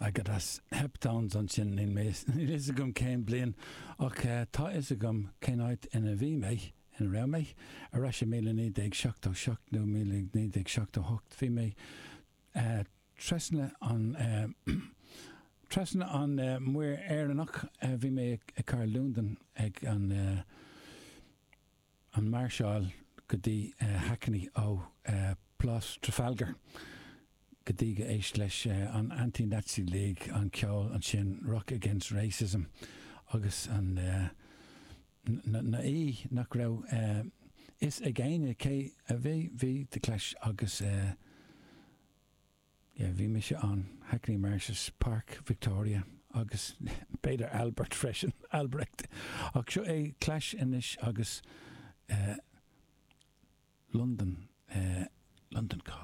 I got as Heptones ansin, níl mé, níl fhios agam cén bliain, ach tá fhios agam cén áit ina bhí mé, ina raibh mé, ar ais i 1977 nó 1978, bhí mé trasna an, trasna an Muir Éireannach, bhí mé i cathair Londain ag an. an máirseáil go dtí Hackney ó Plás Trafalgar go dtí go éist leis an Anti-Nazi League, an ceol ansin Rock Against Racism agus an na na í nach raibh fhios ag éinne cé a bhí bhí The Clash agus Yeah, bhí mise ann, Hackney Marshes, Páirc Victoria agus b'fhéidir Albert freisin, Albrecht. Ach seo é Clash anois agus eh, London, eh, London Calling.